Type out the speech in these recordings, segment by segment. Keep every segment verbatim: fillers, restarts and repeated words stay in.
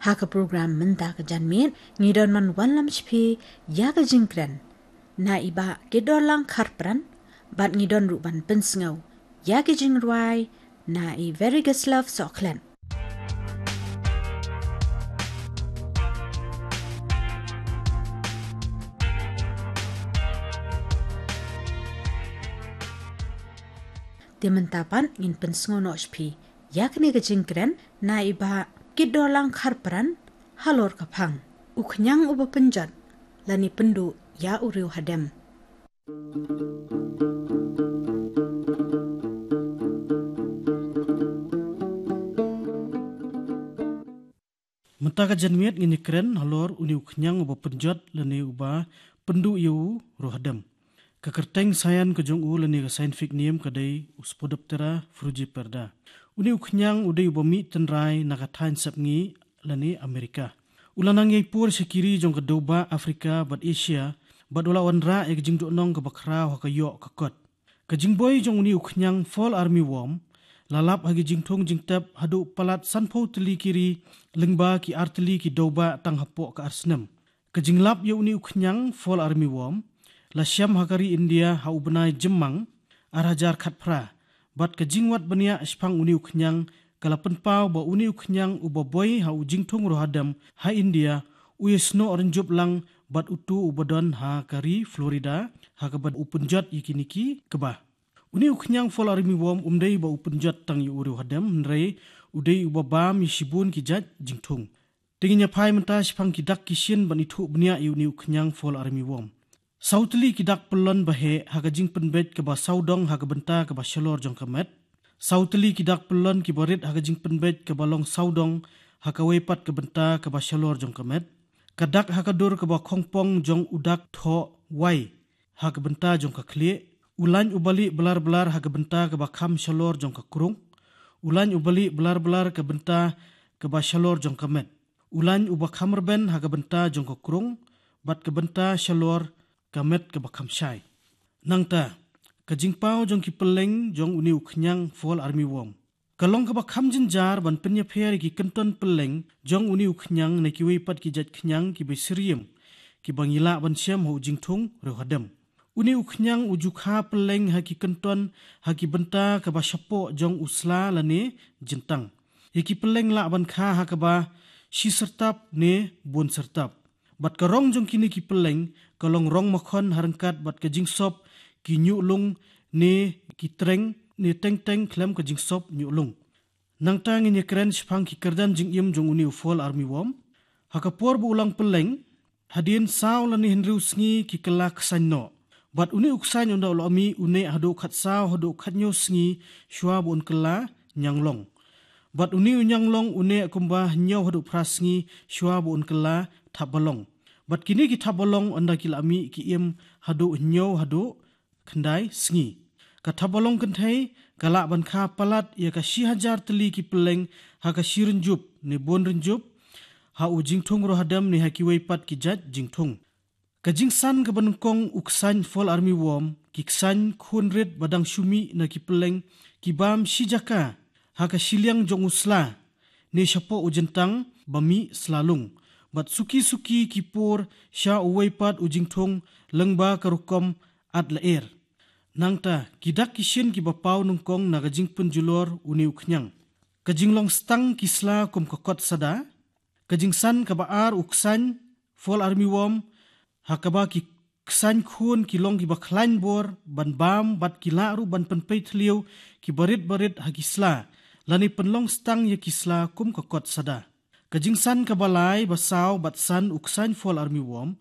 Ha ka program mynta ka janmiet, ngi don ban wanlam sha phi ïa ka jingkren na i Bah Kidorlang Kharpran, bad ngi don ruh ban pynsngew ïa ka jingrwai na i Veregaslav Sohkhlet. Te mynta pat ngin pynsngew noh sha phi ïa kane ka jingkren na i Bah Kidorlang Kharpran, halor ka phang U Khñiang Uba Pynjot, lane Pynduh ïa u Riewhadem. Mynta ka janmiet ngin ïakren halor une u khñiang uba pynjot lane uba pynduh ïa u riewhadem. Ka kyrteng saian ka jong u lane ka scientific name ka dei u Spodoptera frugiperda. Une u khñiang u dei uba mih tynrai na ka thaiñ sepngi lane Amerika. U la nang ïai por sha ki ri jong ka dewbah Afrika bad Asia, bad u la wanrah ïa ka jingduhnong kaba khraw ha ka ïoh ka kot. Ka jingboi jong une u khñiang fall armyworm la lap ha ki jingthung jingtep haduh palat sanphew tylli ki ri lyngba ki ar tylli ki dewbah tang hapoh ka ar snem. Ka jinglap ïa une u khñiang fall armyworm la shem ha ka ri India ha u bnai Jymmang ar hajar khatphra. Bad ka jingwad bniah shaphang une u khñiang ka la pynpaw ba une u khñiang uba boi ha u jingthung riewhadem ha India u ïasnoh rynjup lang bad uto uba don ha ka ri Florida, ha kaba u pynjot ïa kine ki kba. Une u khñiang fall armyworm um dei ba u pynjot tang ïa u riewhadem, hynrei u dei uba bam ïa shibun ki jait jingthung. Te ngin ïa phai mynta shaphang ki dak ki shin ban ithuh bniah ïa une u khñiang fall armyworm. Saw tylli ki dak pyllun ba heh ha ka jingpynbeit kaba sawdong ha ka bynta kaba shalor jong ka met. Saw tylli ki dak pyllun kiba rit ha ka jingpynbeit kaba long sawdong ha kawei pat ka bynta kaba shalor jong ka met. Ka dak ha ka dur kaba khongpong jong u dak thoh wai ha ka bynta jong ka khlieh. U lain uba lieh blar blar ha ka bynta kaba kham shalor jong ka krung. U lain uba lieh blar blar ka bynta kaba shalor jong ka met. U lain uba kham rben ha ka bynta jong ka krung bad ka bynta shalor ka met kaba kham shai. Nangta, ka jingpaw jong ki pylleng jong une u khñiang fall armyworm ka long kaba kham jynjar ban pynïapher ïa ki kynton pylleng jong une u khñiang na kiwei pat ki jait khñiang kiba syriem, kiba ngi lah ban shem ha u jingthung riewhadem. Une u khñiang u ju kha pylleng ha ki kynton ha ki bynta kaba shapoh jong u sla lane jyntang. Ïa ki pylleng lah ban kha ha kaba shi syrtap ne bun syrtap. Bad ka rong jong kine ki pylleng ka long rong makhon ha ryngkat bad ka jingsop ki ñiuhlung ne ki treng ne teng teng khlem ka jingsop ñiuhlung. Nangta ngin ïakren shaphang ki kyrdan jingim jong une u fall armyworm. Ha ka por ba u long pylleng, hadien saw lane hynriew sngi ki kylla ksain noh. Bad une u ksain ynda u la mih u neh haduh khatsaw haduh khathynñiew sngi shuwa ba un kylla ñianglong. Bad une u ñianglong u neh kumba hynñiew haduh phra sngi shuwa ba un kylla thapbalong. Bad kine ki thapbalong ynda ki la mih ki im haduh hynñiew haduh khyndai sngi. Ka thapbalong kynthei ka lah ban kha palat ïa ka shi hajar tylli ki pylleng ha ka shi rynjup ne bun rynjup ha u jingthung riewhadem ne ha kiwei pat ki jait jingthung. Ka jingsan kaba nyngkong u ksain fall armyworm, ki ksain khun rit ba dang shu mih na ki pylleng ki bam shi jaka ha ka shiliang jong u sla ne shapoh u jyntang ba mih slalung. Bad suki suki ki pur sha uwei pat u jingthung lyngba ka rukom at lyer. Nangta, ki dak ki shin kiba paw nyngkong na ka jingpynjulor une u khñiang. Ka jinglong stang ki sla kum ka kot sada. Ka jingsan kaba ar u ksain fall armyworm, ha kaba ki ksain khun ki long kiba khlaiñ bor ban bam bad ki lah ruh ban pynpei thliew kiba rit ba rit ha ki sla, lane pynlong stang ïa ki sla kum ka kot sada. Ka jingsan kaba lai, ba saw bad san u ksain fall armyworm,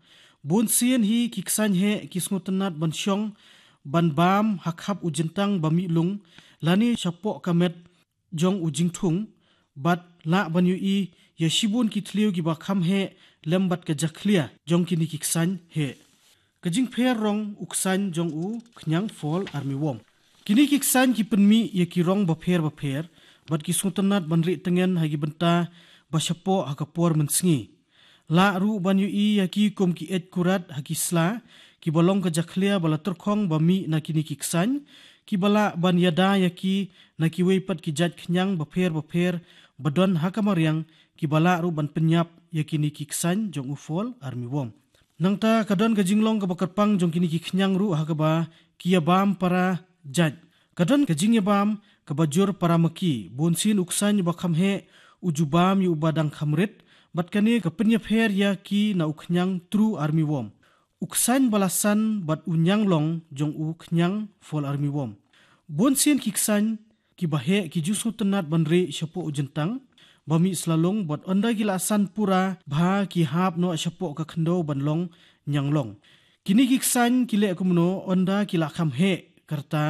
bun sien hi ki ksain heh ki sngewtynnat ban shong ban bam ha khap u jyntang ba mih lung lane shapoh ka met jong u jingthung, bad lah ban ïohi ïa shibun ki thliew kiba kham heh lem bad ka jakhlia jong kine ki ksain heh. Ka jingpher rong u ksain jong u khñiang fall armyworm. Kine ki ksain ki pynmih ïa ki rong bapher bapher bad ki sngewtynnat ban rieh tyngen ha ki bynta ba shapoh ha ka por mynsngi. Lah ruh ban ïohi ïa ki kum ki eit kurat ha ki sla kiba long ka jakhlia ba la tyrkhong ba mih na kine ki ksain, kiba lah ban ïada ïa ki na kiwei pat ki jait khñiang bapher bapher ba don ha ka mariang kiba lah ruh ban pynïap ïa kine ki ksain jong u fall armyworm. Nangta ka don ka jinglong kaba kyrpang jong kine ki khñiang ruh ha kaba ki ïa bam para jait. Ka don ka jingïabam kaba jur para ma ki, bun sien u ksain uba kham heh u ju bam ïa uba dang kham rit, bad kane ka pynïapher ïa ki na u khñiang true armyworm. U ksain ba la san bad u ñianglong jong u khñiang fall armyworm. Bun sien ki ksain kiba heh ki ju sngewtynnad ban rieh shapoh u jyntang ba mih slalung, bad ynda ki la san pura bha ki hap noh shapoh ka khyndew ban long ñianglong. Kine ki ksain ki leh kumno? Ynda ki la kham heh ka rta,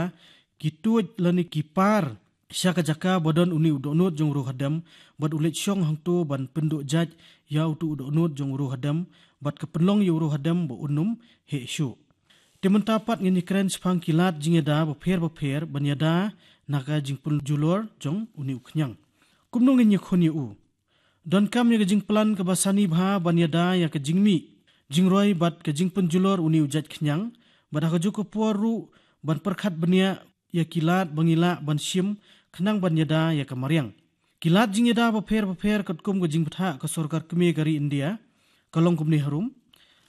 ki tuid lane ki par sha ka jaka ba don une u dohnud jong u riewhadem, bad u leit shong hangto ban pynduh jait ïa uto u dohnud jong u riewhadem, bad ka pynlong ïa u riewhadem ba un ym heh shuh. Te mynta pat ngin ïakren shaphang ki lad jingïada bapher bapher ban ïada na ka jingpynjulor jong une u khñiang. Kumno ngin ïakhun ïa u? Donkam ïa ka jingplan kaba sani bha ban ïada ïa ka jingmih jingroi bad ka jingpynjulor une u jait khñiang, bad ha kajuh ka por ruh ban pyrkhat bniah ïa ki lad ba ngi lah ban shim khnang ban ïada ïa ka mariang. Ki lad jingïada bapher bapher katkum ka jingbthah ka sorkar kmie ka ri India ka long kumne harum.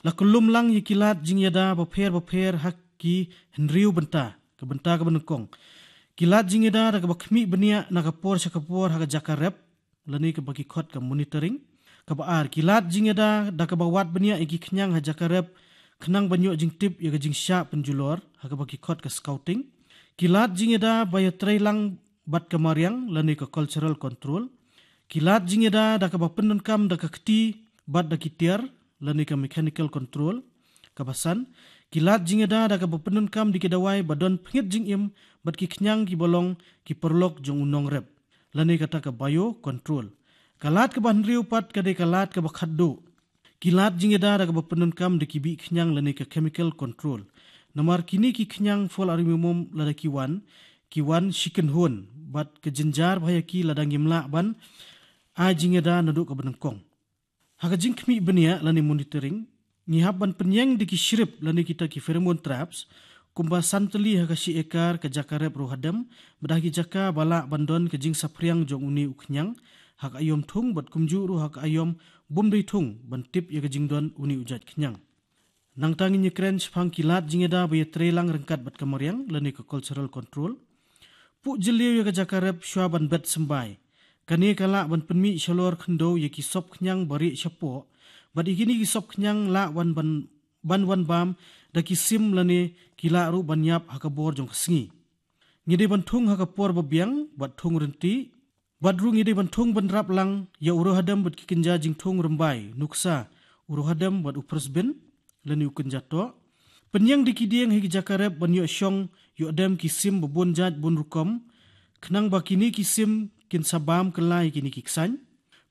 La kyllum lang ïa ki lad jingïada bapher bapher ha ki hynriew bynta. Ka bynta kaba nyngkong, ki lad jingïada da kaba khmih bniah na ka por sha ka por ha ka jaka rep, lane kaba ki khot ka monitoring. Kaba ar, ki lad jingïada da kaba wad bniah ïa ki khñiang ha jaka rep khnang ban ïoh jingtip ïa ka jingshah pynjulor, ha kaba ki khot ka scouting. Ki lad jingïada ba ïatreilang bad ka mariang lane ka cultural control. Ki lad jingïada da kaba pyndonkam da ka kti bad da ki tiar lane ka mechanical control. Kaba san, ki lad jingïada da kaba pyndonkam da ki dawai ba don pynïap jingim bad ki khñiang kiba long ki paralok jong u nongrep, lane kata ka bio control. Ka lad kaba hynriew pat ka dei ka lad kaba khatduh. Ki lad jingïada da kaba pyndonkam da ki bih khñiang lane ka chemical control. Namar kine ki khñiang fall armyworm lada ki wan, ki wan shi kynhun, bad ka jynjar bha ïa ki lada ngim lah ban ai jingïada naduh kaba nyngkong. Ha ka jingkhmih bniah lane monitoring, ngi hap ban pynïeng da ki shrip lane kita ki pheromone traps kumba san tylli ha ka shi ekar ka jaka rep riewhadem, bad ha ki jaka ba lah ban don ka jingsaphriang jong une u khñiang ha ka aïom thung bad kumjuh ruh ha ka aïom bym dei thung ban tip ïa ka jingdon une u jait khñiang. Nangta ngin ïakren shaphang ki lad jingïada ba ïatreilang ryngkat bad ka mariang lane ka cultural control. Puh jylliew ïa ka jaka rep shuwa ban bet symbai. Kane ka lah ban pynmih shalor khyndew ïa ki sop khñiang ba rieh shapoh, bad ïa kine ki sop khñiang lah wan ban, ban wan bam da ki sim lane ki lah ruh ban ïap ha ka bor jong ka sngi. Ngi dei ban thung ha ka por ba biang bad thung rynti, bad ruh ngi dei ban thung bynrap lang ïa u riewhadem bad ki kynja jingthung rymbai, nuksa, u riewhadem bad u phyrshbin lane u kynja toh. Pynïeng da ki dieng ha ki jaka rep ban ïoh shong ïoh dem ki sim ba bun jait bun rukom, khnang ba kine ki sim kin sa bam kylla ïa kine ki ksain.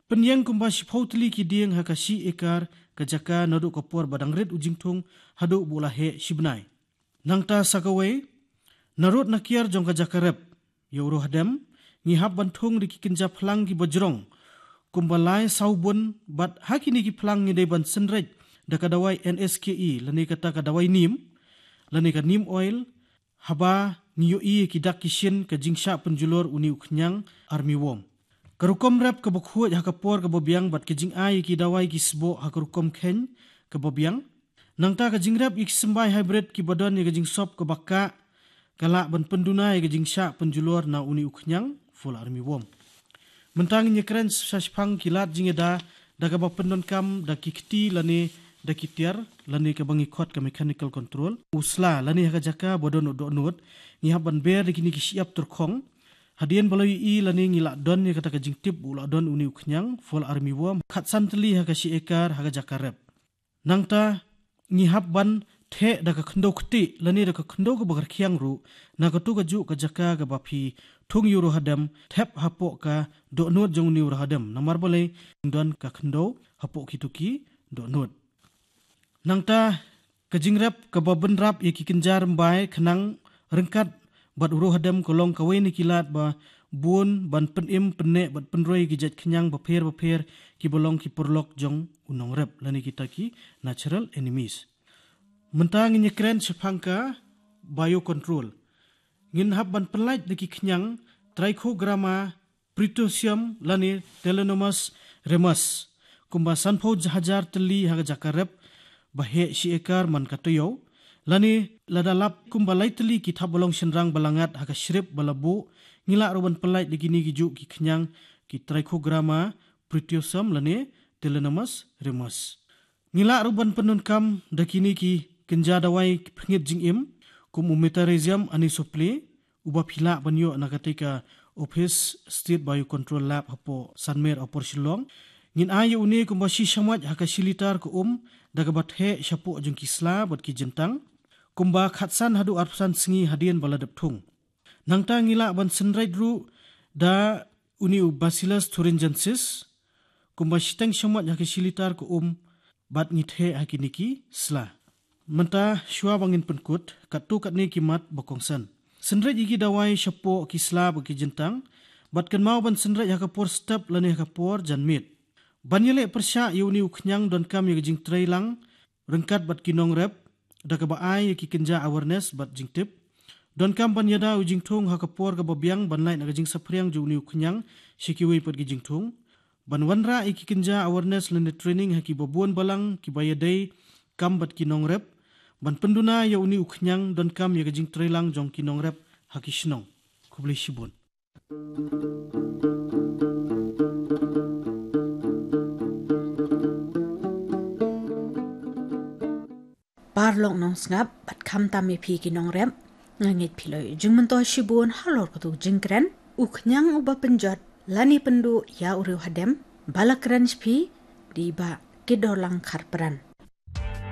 Pynïeng kumba shiphew tylli ki dieng ha ka shi ekar ka jaka naduh ka por ba dang rit u jingthung haduh ba u la heh shi bnai. Nangta sa kawei, na rud na kiar jong ka jaka rep ïa u riewhadem, ngi hap ban thung da ki kynja phlang kiba jrong kumba lai saw bun, bad ha kine ki phlang ngi dei ban synreit da ka dawai N S K E lane kata ka dawai neem lane ka neem oil, haba ngi ïohi ïa ki dak ki shin ka jingshah pynjulor une u khñiang armyworm. Ka rukom rep kaba khuid ha ka por kaba biang bad ka jingai ïa ki dawai ki sboh ha ka rukom kheiñ kaba biang. Nangta ka jingrep ïa ki symbai hybrid kiba don ïa ka jingsop kaba kah, ka lah ban pynduna ïa ka jingshah pynjulor na une u khñiang fall armyworm. Mynta ngin ïakren shaphang ki lad jingïada da kaba pyndonkam da ki kti lane da ki tiar lane kaba ngi khot ka mechanical control. U sla lane ha ka jaka ba don u dohnud, ngi hap ban ber da kine ki shyiap tyrkhong. Hadien ba la ïohi lane ngi la don ïa kata ka jingtip ba u la don une u khñiang fall armyworm khatsan tylli ha ka shi ekar ha ka jaka rep. Nangta ngi hap ban theh da ka khyndew ktieh lane da ka khyndew kaba kyrkhiang ruh na kato kajuh ka jaka kaba phi thung ïa u riewhadem, thep hapoh ka dohnud jong une u riewhadem. Namar balei? Don ka khyndew hapoh kito ki dohnud. Nangta ka jingrep kaba bynrap ïa ki kynja rymbai khnang ryngkat bad u riewhadem ka long kawei na ki lad ba bun ban pynim pynneh bad pynroi ïa ki jait khñiang bapher bapher kiba long ki paralok jong u nongrep lane kita ki natural enemies. Mynta ngin ïakren shaphang ka biocontrol. Ngin hap ban pyllait da ki khñiang Trichogramma Pretiosium lane Telenomus remus. Kumba sanphew hajar tylli ha ka jaka rep ba heh shi ekar man ka taïew. Lane lada lap kumba lai tylli ki thapbalong shynrang ba la ngat ha ka shrip ba la buh, ngi lah ruh ban pyllait da kine ki juh ki khñiang ki Trichogramma, Pretiosium lane Telenomus remus. Ngi lah ruh ban pyndonkam da kine ki kynja dawai ki pynïap jingim, kum u Metarhizium anisopliae, uba phi lah ban ïoh na katei ka Office State Biocontrol Lab hapoh Sanmer Upper Shillong. Ngin ai ïa une kumba shi shamoit ha ka shi litar ka um, da kaba theh shapoh jong ki sla bad ki jyntang. Kumba khatsan haduh arphew san sngi hadien ba la dep thung. Nangta ngi lah ban synreit ruh da une u Bacillus thuringiensis, kumba shiteng shamoit ha ka shi litar ka um, bad ngi theh ha kine ki sla. Mynta shuwa ba ngin pynkut, katto katne ki mat ba kongsan. Synreit ïa ki dawai shapoh ki sla bad ki jyntang, bad kynmaw ban synreit ha ka por step lane ha ka por janmiet. Ban ïaleh pyrshah ïa une u khñiang donkam ïa ka jingtreilang ryngkat bad ki nongrep, da kaba ai ïa ki kynja awareness bad jingtip. Donkam ban ïada u jingthung ha ka por kaba biang ban lait na ka jingsaphriang jong une u khñiang sha kiwei pat ki jingthung. Ban wanrah ïa ki kynja awareness lane training ha kiba bun balang kiba ïadei kam bad ki nongrep. Ban pynduna ïa une u khñiang donkam ïa ka jingtreilang jong ki nongrep ha ki shnong. Khublei shibun. Paralok nongsngap bad khamtam ïa phi ki nongrep, nga ngeit phi la ïoh jingmyntoi shibun halor katu ka jingkren, u khñiang uba pynjot lane pynduh ïa u riewhadem, ba la kren sha phi da i Bah Kidorlang Kharpran.